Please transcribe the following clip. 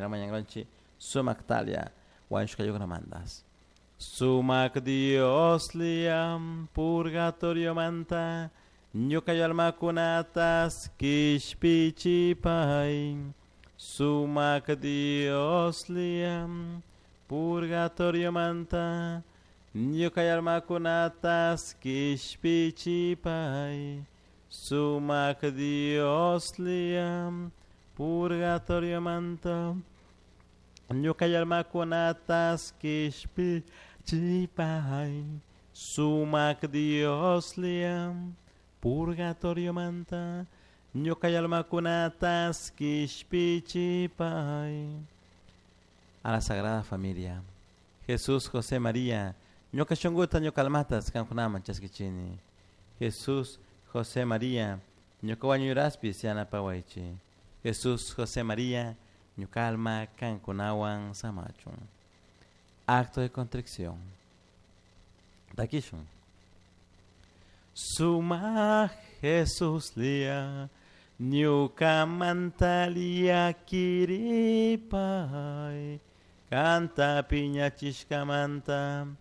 Mañangonchi sumak talia wañushkayukunamantas. Sumak Dios liam purgatorio manta ñuka almakunatas kishpichipay. Sumak Dios liam purgatorio manta ñuka almakunatas kishpichipay. Sumak Dios liam purgatorio manta ñuka almakunatas kishpichipay. Sumak Dios liam purgatorio manta ñuka almakunatas kishpichipay. A la Sagrada Familia. Jesús, José, María, ñuka shunguta ñuka almatas kankunaman chaskichini. Jesús, José, María, ñuka wañuraspis yanapawaychi. Jesús, José, María, ñuka alma kankunawan samachun. Acto de contrición. Takishun. Suma Jesús lia, ñuka mantalia kiripay. Kanta piñachishkamanta.